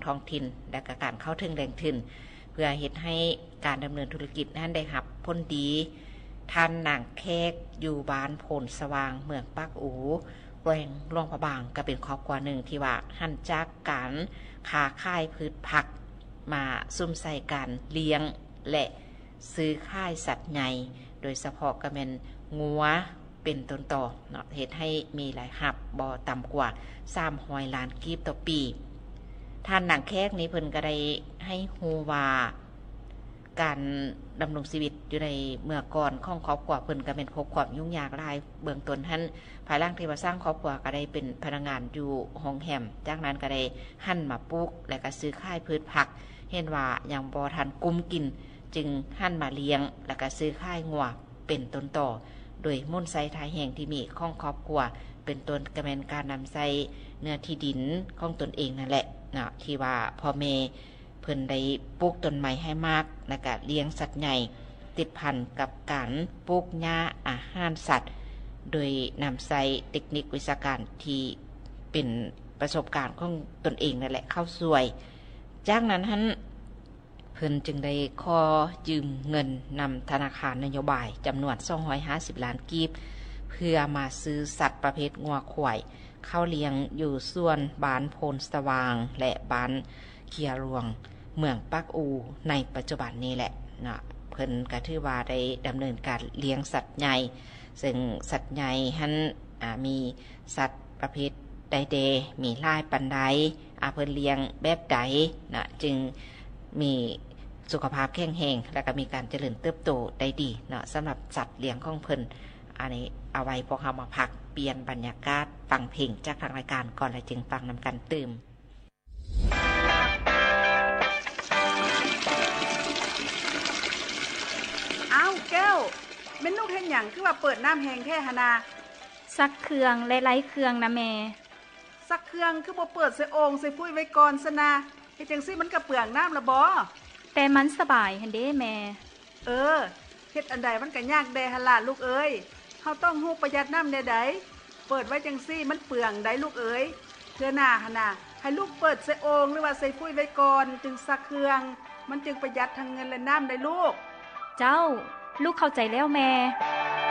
ທ້ອງຖິ່ນ ແລະ ກະການເຂົ້າເຖິງແຫຼ່ງທຶນ ເພື່ອເຮັດໃຫ້ການດຳເນີນທຸລະກິດນັ້ນໄດ້ຮັບຜົນດີ. ທ່ານນາງແຂກ ຢູ່ບ້ານໂພນສະຫວ່າງ ເມືອງປາກອູ ແຂວງຫຼວງພະບາງ ກໍເປັນຄອບຄົວໜຶ່ງທີ່ວ່າຫັນຈາກການຄ້າຂາຍພືດຜັກ ມາສຸມໃສ່ການລ້ຽງ ແລະ ຊື້ຂາຍສັດໃຫຍ່ ໂດຍສະເພາະກໍແມ່ນງົວເປັນຕົ້ນຕໍເນາະ ເຮັດໃຫ້ມີລາຍຮັບບໍ່ຕ່ຳກວ່າສາມຮ້ອຍລ້ານກີບຕໍ່ປີ. ທ່ານນາງແຂກນີ້ເພິ່ນກໍໄດ້ໃຫ້ຮູ້ວ່າ ການດຳລົງຊີວິດຢູ່ໃນເມື່ອກ່ອນຂອງຄອບຄົວເພິ່ນກໍແມ່ນພົບຄວາມຫຍຸ້ງຍາກຫຼາຍ. ເບື້ອງຕົ້ນຫັ້ນ ພາຍຫຼັງທີ່ວ່າສ້າງຄອບຄົວກໍໄດ້ເປັນພະນັກງານຢູ່ໂຮງແຮມ, ຈາກນັ້ນກໍໄດ້ຫັນມາປູກ ແລະ ກໍຊື້ຂາຍພືດຜັກ, ເຫັນວ່າຍັງບໍ່ທັນກຸ້ມກິນ ຈຶ່ງຫັນມາລ້ຽງ ແລະ ກໍຊື້ຂາຍງົວເປັນຕົ້ນຕໍ ໂດຍໝູນໃຊ້ທ່າແຮງທີ່ມີຂອງຄອບຄົວ ເປັນຕົ້ນກໍແມ່ນການນຳໃຊ້ເນື້ອທີ່ດິນຂອງຕົນເອງນັ້ນແຫຼະເນາະ ທີ່ວ່າພໍ່ແມ່ ເພິ່ນໄດ້ປູກຕົ້ນໄມ້ໃຫ້ໝາກ ແລະກະລ້ຽງສັດໃຫຍ່ ຕິດພັນກັບການປູກຫຍ້າອາຫານສັດ ໂດຍນຳໃຊ້ເຕັກນິກວິຊາການທີ່ເປັນປະສົບການຂອງຕົນເອງນັ້ນແຫຼະເຂົ້າຊ່ວຍ. ຈາກນັ້ນຫັ້ນ ເພິ່ນຈຶ່ງໄດ້ຂໍຢືມເງິນນຳທະນາຄານນະໂຍບາຍຈຳນວນສອງຮ້ອຍຫ້າສິບລ້ານກີບ ເພື່ອມາຊື້ສັດປະເພດງົວຄວາຍ ເຂົ້າລ້ຽງຢູ່ສວນບ້ານໂພນສະຫວ່າງ ແລະ ບ້ານເຄຍຫຼວງ ເມືອງປາກອູ ໃນປັດຈຸບັນນີ້ແຫຼະເນາະ. ເພິ່ນກໍຖືວ່າໄດ້ດຳເນີນການລ້ຽງສັດໃຫຍ່ ເຊິ່ງສັດໃຫຍ່ຫັ້ນ ອາ ມີສັດປະເພດໃດແດ່ ມີຫຼາຍປານໃດ ອາ ເພິ່ນລ້ຽງແບບໃດນະ ຈຶ່ງມີສຸຂະພາບແຂງແຮງ ແລະ ກໍມີການຈະເລີນເຕີບໂຕໄດ້ດີເນາະ ສຳລັບສັດລ້ຽງຂອງເພິ່ນ. ອັນນີ້ເອົາໄວ້ພວກເຮົາມາພັກປ່ຽນບັນຍາກາດ ຟັງເພງຈາກທາງລາຍການກ່ອນ ແລ້ວຈຶ່ງຟັງນຳກັນຕື່ມ. ອ້າວ ແກ້ວ ແມ່ນລູກເຮັດຫຍັງ ຄືວ່າເປີດນ້ຳແຮງແທ້ຫັ້ນນາ? ຊັກເຄື່ອງ ແລະ ໄລ່ເຄື່ອງນະແມ່. ຊັກເຄື່ອງຄືບໍ່ເປີດໃສ່ໂອ່ງໃສ່ຟຸ້ຍໄວ້ກ່ອນຊັ້ນນາ? ເຮັດຈັ່ງຊີ້ມັນກະເປືອງນ້ຳລະບໍ? ແຕ່ມັນສະບາຍຫັ້ນເດ້ແມ່. ເອີ ເຮັດອັນໃດມັນກະຍາກແດ່ຫັ້ນລະລູກເອີຍ. ເຮົາຕ້ອງຮູ້ປະຢັດນ້ຳແດ່ໃດ໋. ເປີດໄວ້ຈັ່ງຊີ້ມັນເປືອງໃດ໋ລູກເອີຍ. ເທື່ອໜ້າຫັ້ນນາ ໃຫ້ລູກເປີດໃສ່ໂອ່ງ ຫຼືວ່າໃສ່ຟຸ້ຍໄວ້ກ່ອນ ຈຶ່ງຊັກເຄື່ອງ. ມັນຈຶ່ງປະຢັດທັງເງິນ ແລະ ນ້ຳໄດ໋ລູກ. ເຈົ້າ, ລູກເຂົ້າໃຈແລ້ວແມ່.